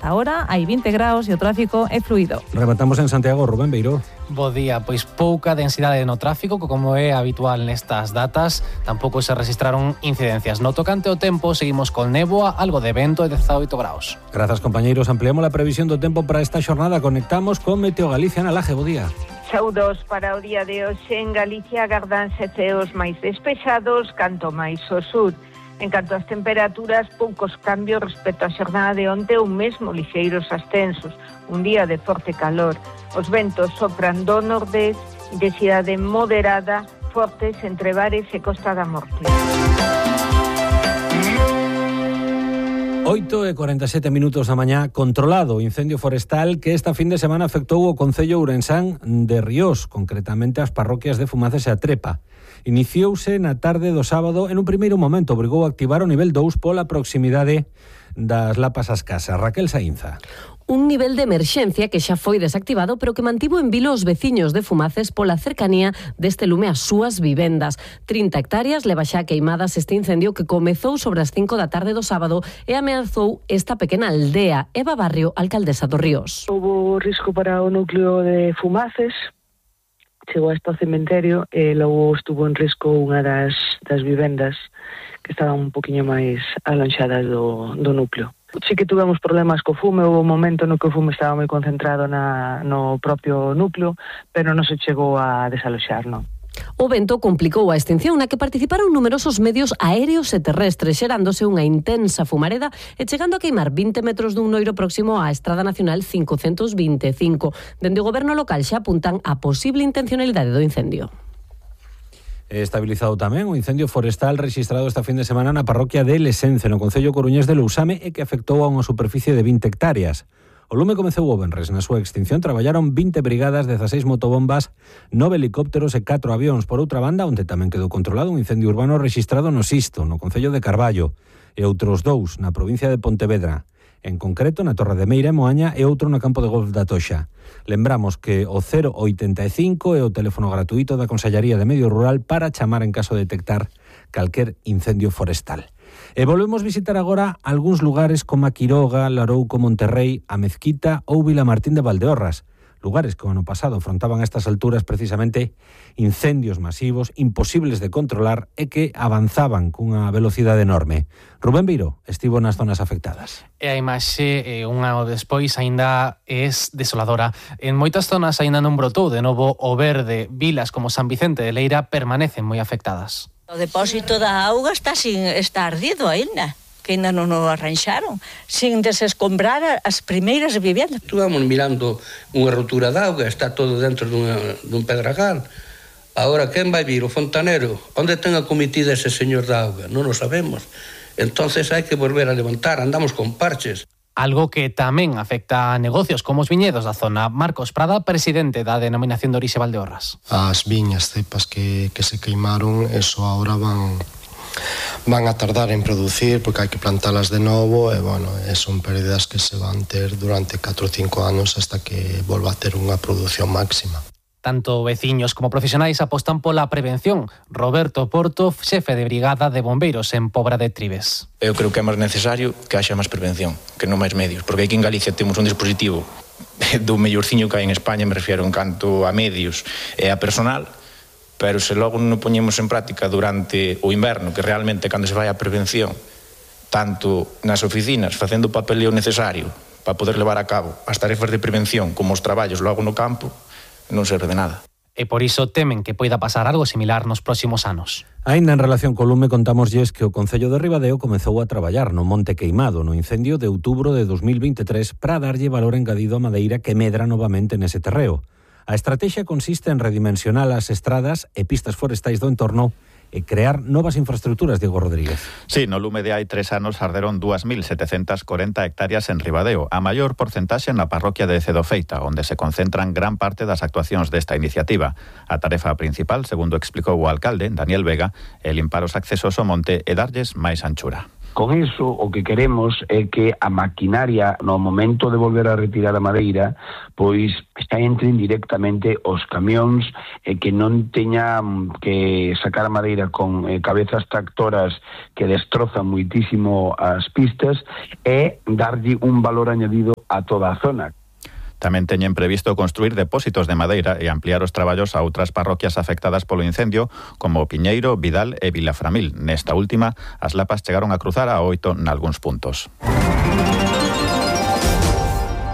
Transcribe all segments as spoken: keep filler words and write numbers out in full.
Ata ahora hai vinte graus e o tráfico é fluido. Rematamos en Santiago, Rubén Beiró. Bo día, pois pouca densidade no tráfico, como é habitual nestas datas. Tampouco se registraron incidencias. No tocante ao tempo, seguimos con néboa, algo de vento e dezaoito graus. Grazas, compañeiros. Ampliamos a previsión do tempo para esta xornada. Conectamos con Meteo Galicia na Laje. Bo día. Saúdos para o día de hoxe. En Galicia agardanse ceos máis despexados, canto máis ao sur. En canto ás temperaturas, poucos cambios respecto á xornada de onte, ou mesmo lixeiros ascensos. Un día de forte calor. Os ventos sopran do nordés, intensidade moderada, fortes entre Bares e Costa da Morte. oito e cuarenta e sete minutos da mañá. Controlado o incendio forestal que esta fin de semana afectou o concello ourensán de Ríos, concretamente as parroquias de Fumaces e a Trepa. Iniciouse na tarde do sábado. En un primeiro momento obrigou a activar o nivel dous pola proximidade das lapas ás casas. Raquel Saínza. Un nivel de emerxencia que xa foi desactivado, pero que mantivo en vilo os veciños de Fumaces pola cercanía deste lume ás súas vivendas. trinta hectáreas leva xa queimadas este incendio que comezou sobre as cinco da tarde do sábado e ameazou esta pequena aldea. Eva Barrio, alcaldesa do Ríos. Houbo risco para o núcleo de Fumaces, chegou hasta o cementerio e logo estuvo en risco unha das, das vivendas que estaban un poquinho máis alonxadas do, do núcleo. Sí que tuvemos problemas co fume, houve un momento no que o fume estaba moi concentrado na, no propio núcleo, pero non se chegou a desaloxar, non. O vento complicou a extinción na que participaron numerosos medios aéreos e terrestres, xerándose unha intensa fumareda e chegando a queimar vinte metros dun noiro próximo á Estrada Nacional cincocentos vinte e cinco. Dende o goberno local xa apuntan a posible intencionalidade do incendio. Estabilizado tamén o incendio forestal registrado esta fin de semana na parroquia de Lesence, no concello coruñés de Lousame, e que afectou a unha superficie de vinte hectáreas. O lume comezou o venres. Na súa extinción traballaron vinte brigadas, dezaseis motobombas, nove helicópteros e catro avións. Por outra banda, onde tamén quedou controlado un incendio urbano registrado no Sisto, no concello de Carballo, e outros dous na provincia de Pontevedra. En concreto, na Torre de Meira e Moaña, e outro no campo de golf da Toxa. Lembramos que o cero oitenta e cinco é o teléfono gratuito da Consellaría de Medio Rural para chamar en caso de detectar calquer incendio forestal. E volvemos visitar agora algúns lugares como a Quiroga, Larouco, Monterrey, a Mezquita ou Vilamartín de Valdeorras. Lugares que o ano pasado afrontaban a estas alturas precisamente incendios masivos, imposibles de controlar e que avanzaban cunha velocidade enorme. Rubén Beiró estivo nas zonas afectadas. E a imaxe, eh, un ano despois, aínda é desoladora. En moitas zonas aínda non brotou de novo o verde. Vilas como San Vicente de Leira permanecen moi afectadas. O depósito da auga está sin está ardido aínda, que ainda non o arranxaron, sin desescombrar as primeiras vivendas. Estuvamos mirando unha rotura de auga, está todo dentro dunha, dun pedragal. Agora, quen vai vir? O fontanero? Onde ten a comitida ese señor da auga? Non o sabemos. Entonces hai que volver a levantar, andamos con parches. Algo que tamén afecta a negocios como os viñedos da zona. Marcos Prada, presidente da denominación de orixe Valdeorras. As viñas cepas que, que se queimaron, eso ahora van... van a tardar en producir porque hai que plantalas de novo e, bueno, son pérdidas que se van ter durante catro ou cinco anos hasta que volva a ter unha produción máxima. Tanto veciños como profesionais apostan pola prevención. Roberto Porto, xefe de brigada de bombeiros en Pobra de Tribes. Eu creo que é máis necesario que haxa máis prevención, que non máis medios, porque aquí en Galicia temos un dispositivo do mellorciño que hai en España, me refiero en canto a medios e a personal, pero se logo non poñemos en práctica durante o inverno, que realmente cando se vai a prevención, tanto nas oficinas, facendo o papeleo necesario para poder levar a cabo as tarefas de prevención como os traballos logo no campo, non serve de nada. E por iso temen que poida pasar algo similar nos próximos anos. Aínda en relación co lume, contámoslles que o Concello de Ribadeo comezou a traballar no Monte Queimado no incendio de outubro de dos mil veintitrés para darlle valor engadido a madeira que medra novamente nese terreo. A estrategia consiste en redimensionar as estradas e pistas forestais do entorno e crear novas infraestructuras, Diego Rodríguez. Sí, no lume de hai tres anos arderon dúas mil setecentas corenta hectáreas en Ribadeo, a maior porcentaxe na parroquia de Cedofeita, onde se concentran gran parte das actuacións desta iniciativa. A tarefa principal, segundo explicou o alcalde, Daniel Vega, é limpar os accesos ao monte e darlles máis anchura. Con iso, o que queremos é que a maquinaria, no momento de volver a retirar a madeira, pois está entren directamente os camións e que non teña que sacar a madeira con eh, cabezas tractoras que destrozan muitísimo as pistas e darlle un valor añadido a toda a zona. Tamén teñen previsto construir depósitos de madeira e ampliar os traballos a outras parroquias afectadas polo incendio, como Piñeiro, Vidal e Vilaframil. Nesta última, as lapas chegaron a cruzar a oito nalgúns puntos.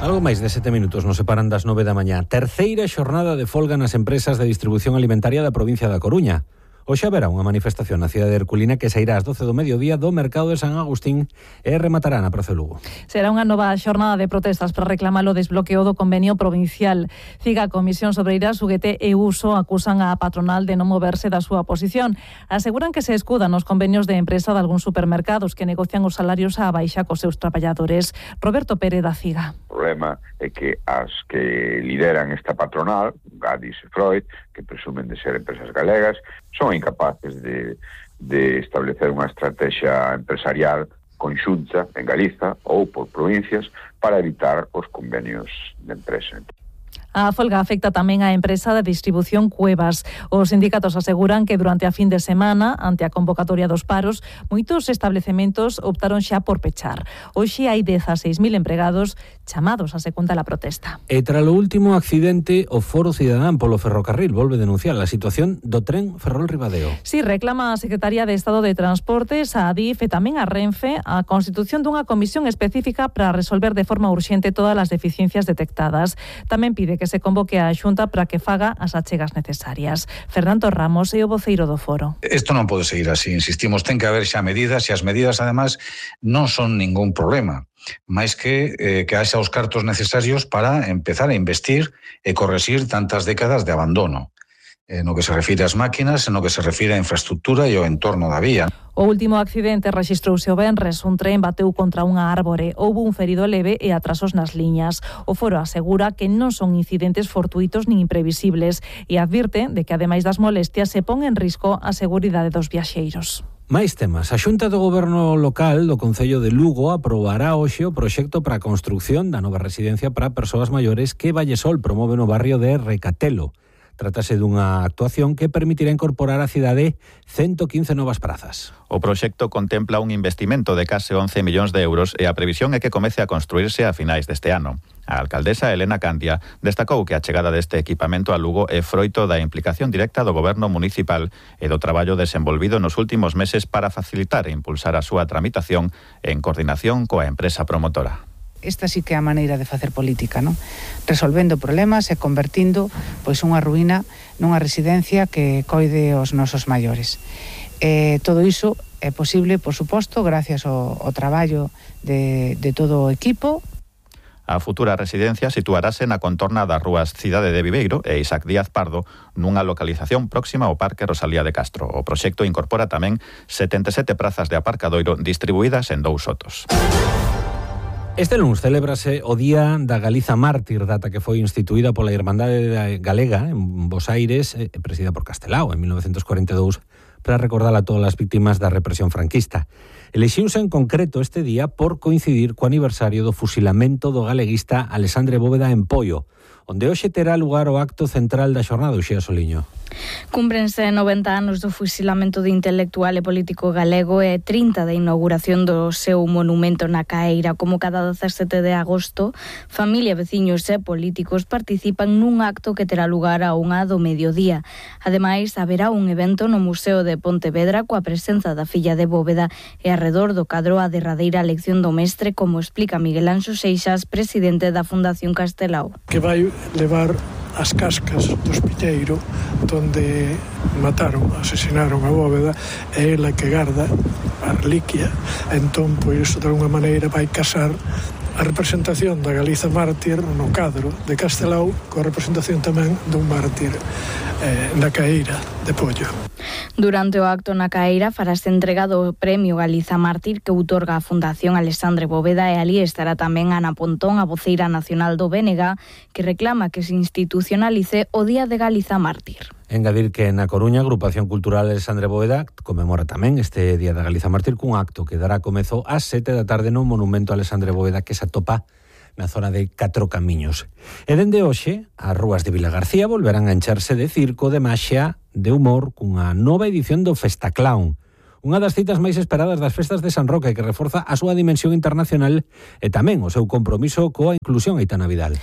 Algo máis de sete minutos nos separan das nove da mañá. Terceira xornada de folga nas empresas de distribución alimentaria da provincia da Coruña. Hoxe haberá unha manifestación na cidade de Herculina que sairá ás doce do mediodía do mercado de San Agustín e rematará na Praza Lugo. Será unha nova xornada de protestas para reclamar o desbloqueo do convenio provincial. Ciga, Comisión Sobreira, U G T e Uso acusan a patronal de non moverse da súa posición. Aseguran que se escudan os convenios de empresa de algúns supermercados que negocian os salarios á baixa cos seus traballadores. Roberto Pérez da Ciga. O problema é que as que lideran esta patronal, Gadis e Freud, que presumen de ser empresas galegas, son incapaces de, de establecer unha estrategia empresarial conxunta en Galiza ou por provincias para evitar os convenios de empresa. A folga afecta tamén á empresa de distribución Cuevas. Os sindicatos aseguran que durante a fin de semana, ante a convocatoria dos paros, moitos establecementos optaron xa por pechar. Hoxe hai dezaseis mil empregados chamados a secundar a protesta. E tras o último accidente, o Foro Cidadán polo ferrocarril volve denunciar a situación do tren Ferrol-Ribadeo. Si, reclama a Secretaría de Estado de Transportes, a Adif e tamén a Renfe a constitución dunha comisión específica para resolver de forma urxente todas as deficiencias detectadas. Tamén pide que se convoque a Xunta para que faga as achegas necesarias. Fernando Ramos é o voceiro do foro. Isto non pode seguir así, insistimos, ten que haber xa medidas e as medidas, además, non son ningún problema, máis que eh, que haxa os cartos necesarios para empezar a investir e correxir tantas décadas de abandono, eh, no que se refire ás máquinas, no que se refire á infraestructura e ao entorno da vía. O último accidente rexistrouse o venres. Un tren bateu contra unha árbore. Houbo un ferido leve e atrasos nas liñas. O foro asegura que non son incidentes fortuitos nin imprevisibles e advirte de que, ademais das molestias, se pon en risco a seguridade dos viaxeiros. Máis temas. A Xunta do Goberno Local do Concello de Lugo aprobará hoxe o proxecto para a construción da nova residencia para persoas maiores que Vallesol promove no barrio de Recatelo. Trátase dunha actuación que permitirá incorporar á cidade ciento quince novas prazas. O proxecto contempla un investimento de case once millóns de euros e a previsión é que comece a construirse a finais deste ano. A alcaldesa Elena Candia destacou que a chegada deste equipamento a Lugo é froito da implicación directa do goberno municipal e do traballo desenvolvido nos últimos meses para facilitar e impulsar a súa tramitación en coordinación coa empresa promotora. Esta sí que é a maneira de facer política, non? Resolvendo problemas e convertindo pois unha ruína nunha residencia que coide os nosos maiores. E todo iso é posible, por suposto, gracias ao, ao traballo de, de todo o equipo. A futura residencia situarase na contorna das rúas Cidade de Viveiro e Isaac Díaz Pardo, nunha localización próxima ao Parque Rosalía de Castro. O proxecto incorpora tamén setenta e sete prazas de aparcadoiro distribuídas en dous sotos. Este lunes celébrase o Día da Galiza Mártir, data que foi instituída pola Irmandade Galega en Bos Aires e presidida por Castelao en mil novecentos cuarenta e dous para recordar a todas as víctimas da represión franquista. Elixiuse en concreto este día por coincidir co aniversario do fusilamento do galeguista Alexandre Bóveda en Poio, onde hoxe terá lugar o acto central da xornada, Uxía Soliño. Cúmprense noventa anos do fusilamento de intelectual e político galego e trinta da inauguración do seu monumento na Caeira. Como cada dezasete de agosto, familia, veciños e políticos participan nun acto que terá lugar a unha do mediodía. Ademais, haberá un evento no Museo de Pontevedra coa presenza da filla de Bóveda e arredor do cadro a derradeira lección do mestre, como explica Miguel Anxo Seixas, presidente da Fundación Castelao. Que vai levar as cascas do Espiteiro donde mataron, asesinaron a Bóveda, e ela que garda a reliquia. Entón, pois, de alguna maneira vai casar a representación da Galiza mártir no cadro de Castelao coa representación tamén dun mártir eh, na Caeira de Pollo. Durante o acto na Caeira farase entrega do Premio Galiza Mártir que outorga a Fundación Alexandre Bóveda, e ali estará tamén Ana Pontón, a voceira nacional do B N G, que reclama que se institucionalice o Día de Galiza Mártir. Engadir que na Coruña a Agrupación Cultural Alexandre Bóveda conmemora tamén este Día da Galiza Mártir cun acto que dará comezo ás sete da tarde no Monumento Alexandre Bóveda que se atopa na zona de Catro Camiños. E dende hoxe, as rúas de Vilagarcía volverán a encharse de circo, de maxia, de humor, cunha nova edición do Festa Clown, unha das citas máis esperadas das festas de San Roque, que reforza a súa dimensión internacional e tamén o seu compromiso coa inclusión. Aitana Vidal.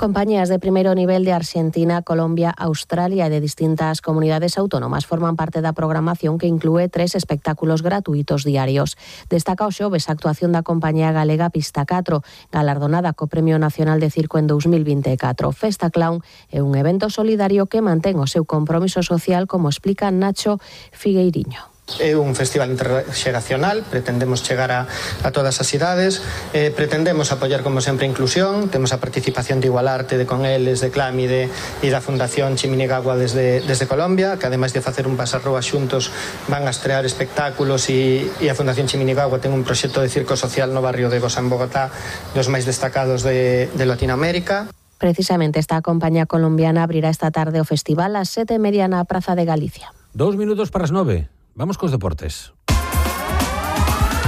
Compañías de primeiro nivel de Argentina, Colombia, Australia e de distintas comunidades autónomas forman parte da programación que inclúe tres espectáculos gratuitos diarios. Destaca o xoves a actuación da compañía galega Pista catro, galardonada co Premio Nacional de Circo en dous mil vinte e catro. Festa Clown é un evento solidario que mantén o seu compromiso social, como explica Nacho Figueiriño. É un festival interxeracional, pretendemos chegar a, a todas as idades, eh, pretendemos apoiar como sempre a inclusión, temos a participación de Igualarte, de Coneles, de Clámide e da Fundación Chiminigagua desde, desde Colombia, que ademais de facer un pasarroa xuntos van a estrear espectáculos e, e a Fundación Chiminigagua ten un proxecto de circo social no barrio de Goza en Bogotá, dos máis destacados de, de Latinoamérica. Precisamente esta compañía colombiana abrirá esta tarde o festival ás sete e media na Praza de Galicia. Dos minutos para as nove. Vamos cos deportes.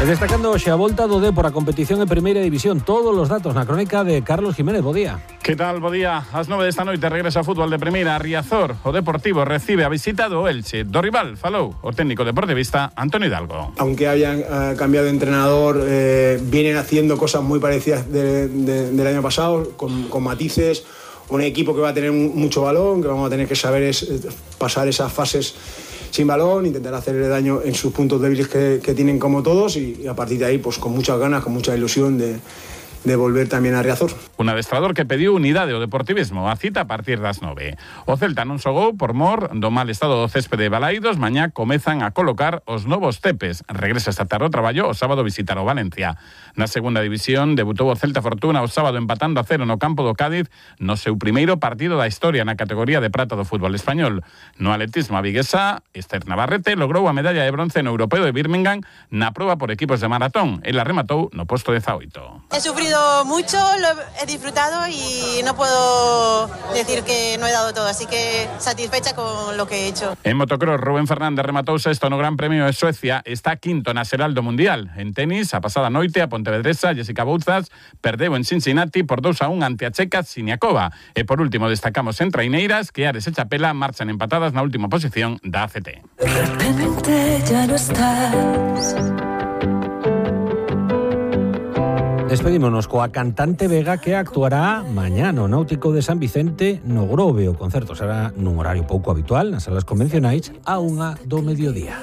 E destacando hoxe a volta do Dépor a competición en Primeira División. Todos os datos na crónica de Carlos Jiménez. Bo día. Que tal? Bo día. Ás nove desta noite regresa o fútbol de Primeira. Riazor, o Deportivo, recibe a visita do Elche. Do rival falou o técnico deportivista Antonio Hidalgo. Aunque hayan uh, cambiado de entrenador, eh, vienen haciendo cosas muy parecidas de, de, del año pasado, con, con matices. Un equipo que va a tener mucho balón, que vamos a tener que saber es, pasar esas fases sin balón, intentar hacerle daño en sus puntos débiles que, que tienen como todos y, y a partir de ahí pues con muchas ganas, con mucha ilusión de, de volver tamén a Riazor. Un adestrador que pediu unidade ao deportivismo, a cita a partir das nove. O Celta non xogou por mor do mal estado do céspede de Balaídos. Mañá comezan a colocar os novos tepes. Regresa esta tarde ao traballo, o sábado visitar o Valencia. Na segunda división debutou o Celta Fortuna o sábado empatando a cero no campo do Cádiz no seu primeiro partido da historia na categoría de prata do fútbol español. No atletismo a viguesa, Esther Navarrete logrou a medalla de bronce no Europeo de Birmingham na proba por equipos de maratón. Ela rematou no posto dezaoito. He sufrido mucho, lo he disfrutado y no puedo decir que no he dado todo, así que satisfecha con lo que he hecho. En motocross, Rubén Fernández rematou sexto no Gran Premio de Suecia, está quinto na xeral do Mundial. En tenis, a pasada noite, a pontevedresa Jessica Bouzas perdeu en Cincinnati por dos a un ante a checa Siniakova. E por último destacamos en traiñeiras que Ares e Chapela marchan empatadas na última posición da A C T. De repente ya no estás. Despedímonos coa cantante Vega, que actuará mañá no Náutico de San Vicente no Grove. O concerto será nun horario pouco habitual nas salas convencionais a unha do mediodía.